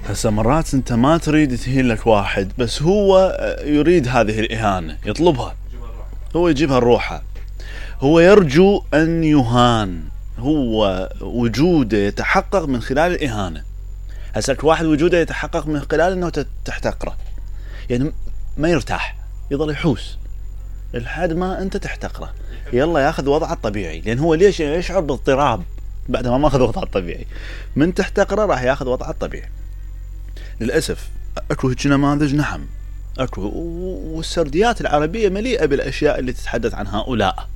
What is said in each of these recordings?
هسه مرات انت ما تريد تهين لك واحد، بس هو يريد هذه الإهانة، يطلبها، هو يجيبها لروحه، هو يرجو أن يهان، هو وجوده يتحقق من خلال الإهانة. هسه واحد وجوده يتحقق من خلال أنه تحتقره، يعني ما يرتاح، يظل يحوس لحد ما أنت تحتقره، يلا ياخذ وضعه الطبيعي، لأن هو ليش يشعر باضطراب بعد ما أخذ وضعه الطبيعي، من تحتقره راح ياخذ وضعه الطبيعي. للأسف أكو هيك نماذج، نعم أكو، والسرديات العربية مليئة بالأشياء اللي تتحدث عن هؤلاء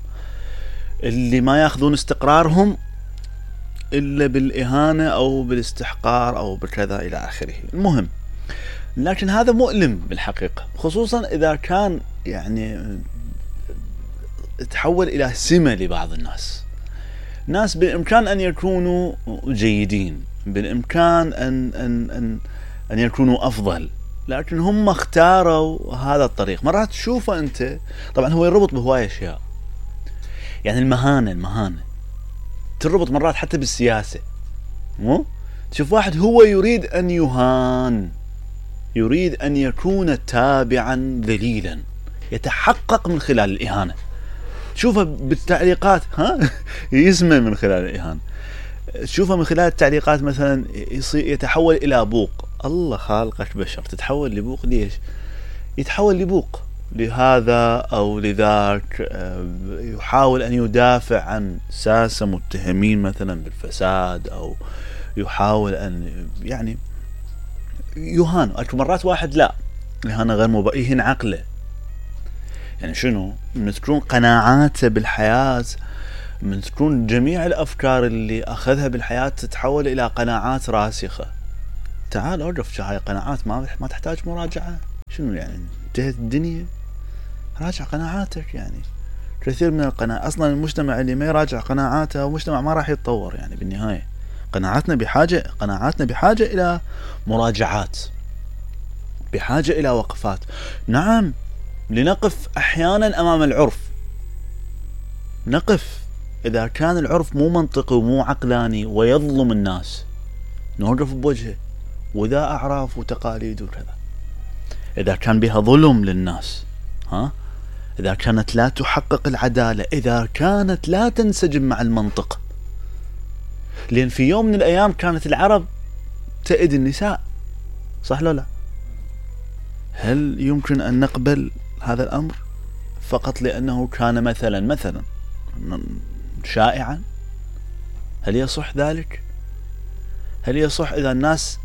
اللي ما ياخذون استقرارهم إلا بالإهانة أو بالاستحقار أو بكذا إلى آخره. المهم، لكن هذا مؤلم بالحقيقة، خصوصا إذا كان يعني تحول إلى سمة لبعض الناس. ناس بالإمكان أن يكونوا جيدين، بالإمكان أن يكونوا أفضل، لكن هم اختاروا هذا الطريق. مرات تشوفه أنت، طبعا هو يربط بهواية أشياء، يعني المهانة تربط مرات حتى بالسياسة. مو تشوف واحد هو يريد أن يهان، يريد أن يكون تابعا ذليلا، يتحقق من خلال الإهانة. تشوفه بالتعليقات، يسمى من خلال الإهانة، تشوفه من خلال التعليقات مثلا يتحول إلى بوق. الله خالقك بشر تتحول لبوق؟ ليش يتحول لبوق؟ لهذا أو لذاك، يحاول أن يدافع عن ساسة متهمين مثلا بالفساد، أو يحاول أن يعني يهان. أكو مرات واحد لا، إهانة غير يهين عقله. يعني شنو؟ من تكون قناعاته بالحياة، من تكون جميع الأفكار اللي أخذها بالحياة تتحول إلى قناعات راسخة. تعال أعرف هاي قناعات ما تحتاج مراجعة. شنو يعني انتهت الدنيا؟ راجع قناعاتك. يعني كثير من القناعات أصلا المجتمع اللي ما يراجع قناعاته مجتمع ما راح يتطور. يعني بالنهاية قناعاتنا بحاجة إلى مراجعات، بحاجة إلى وقفات. نعم، لنقف أحيانا أمام العرف، نقف إذا كان العرف مو منطقي ومو عقلاني ويظلم الناس، نوقف بوجهه، وذا أعراف وتقاليد وكذا. إذا كان بها ظلم للناس، إذا كانت لا تحقق العدالة، إذا كانت لا تنسجم مع المنطق. لأن في يوم من الأيام كانت العرب تأذي النساء، صح لا؟ هل يمكن أن نقبل هذا الأمر فقط لأنه كان مثلا شائعا؟ هل يصح ذلك؟ هل يصح إذا الناس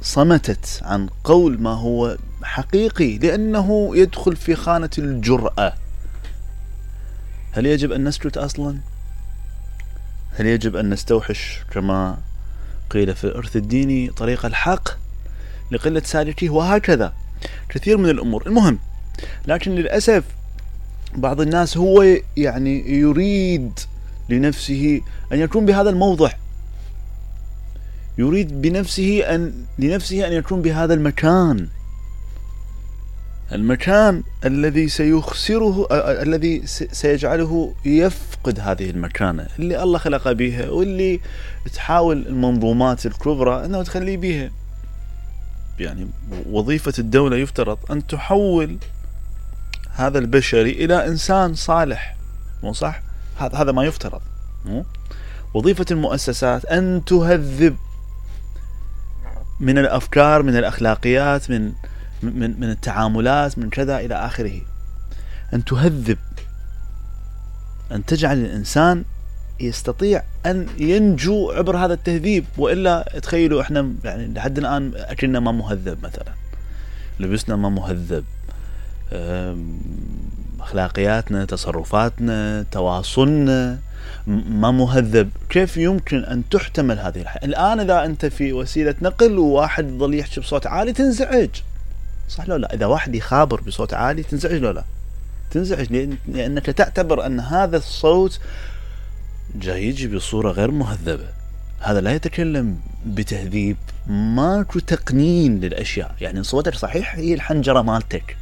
صمتت عن قول ما هو حقيقي لأنه يدخل في خانة الجرأة؟ هل يجب أن نسكت أصلا؟ هل يجب أن نستوحش كما قيل في الإرث الديني طريق الحق لقلة سالكيه؟ وهكذا كثير من الأمور. المهم، لكن للأسف بعض الناس هو يعني يريد لنفسه أن يكون بهذا الموضع، يريد لنفسه أن يكون بهذا المكان الذي سيخسره، الذي سيجعله يفقد هذه المكانة اللي الله خلق بها، واللي تحاول المنظومات الكبرى أنه تخلي بها. يعني وظيفة الدولة يفترض أن تحول هذا البشري إلى إنسان صالح، مو صح؟ هذا ما يفترض. وظيفة المؤسسات أن تهذب من الأفكار، من الأخلاقيات، من التعاملات، من كذا إلى آخره، أن تهذب، أن تجعل الإنسان يستطيع أن ينجو عبر هذا التهذيب. وإلا تخيلوا إحنا يعني لحد الآن أكلنا ما مهذب، مثلا لبسنا ما مهذب، أخلاقياتنا، تصرفاتنا، تواصلنا ما مهذب. كيف يمكن أن تحتمل هذه الحياة؟ الآن إذا أنت في وسيلة نقل وواحد ظل يحكي بصوت عالي تنزعج، صح لو لا؟ إذا واحد يخابر بصوت عالي تنزعج لو لا؟ تنزعج، لأنك تعتبر أن هذا الصوت جاي يجي بصورة غير مهذبة، هذا لا يتكلم بتهذيب، ماكو تقنين للأشياء. يعني صوتك صحيح هي الحنجرة مالتك،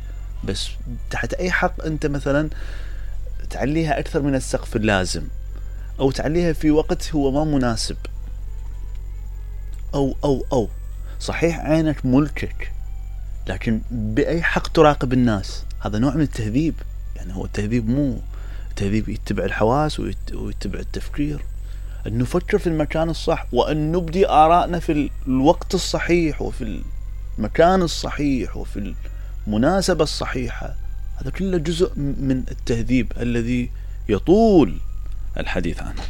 بس تحت أي حق أنت مثلا تعليها أكثر من السقف اللازم، أو تعليها في وقت هو ما مناسب، أو صحيح عينك ملكك، لكن بأي حق تراقب الناس؟ هذا نوع من التهذيب. يعني هو التهذيب مو التهذيب يتبع الحواس ويتبع التفكير، أن نفكر في المكان الصح، وأن نبدي آرائنا في الوقت الصحيح وفي المكان الصحيح وفي المناسبة الصحيحة. هذا كله جزء من التهذيب الذي يطول الحديث عنه.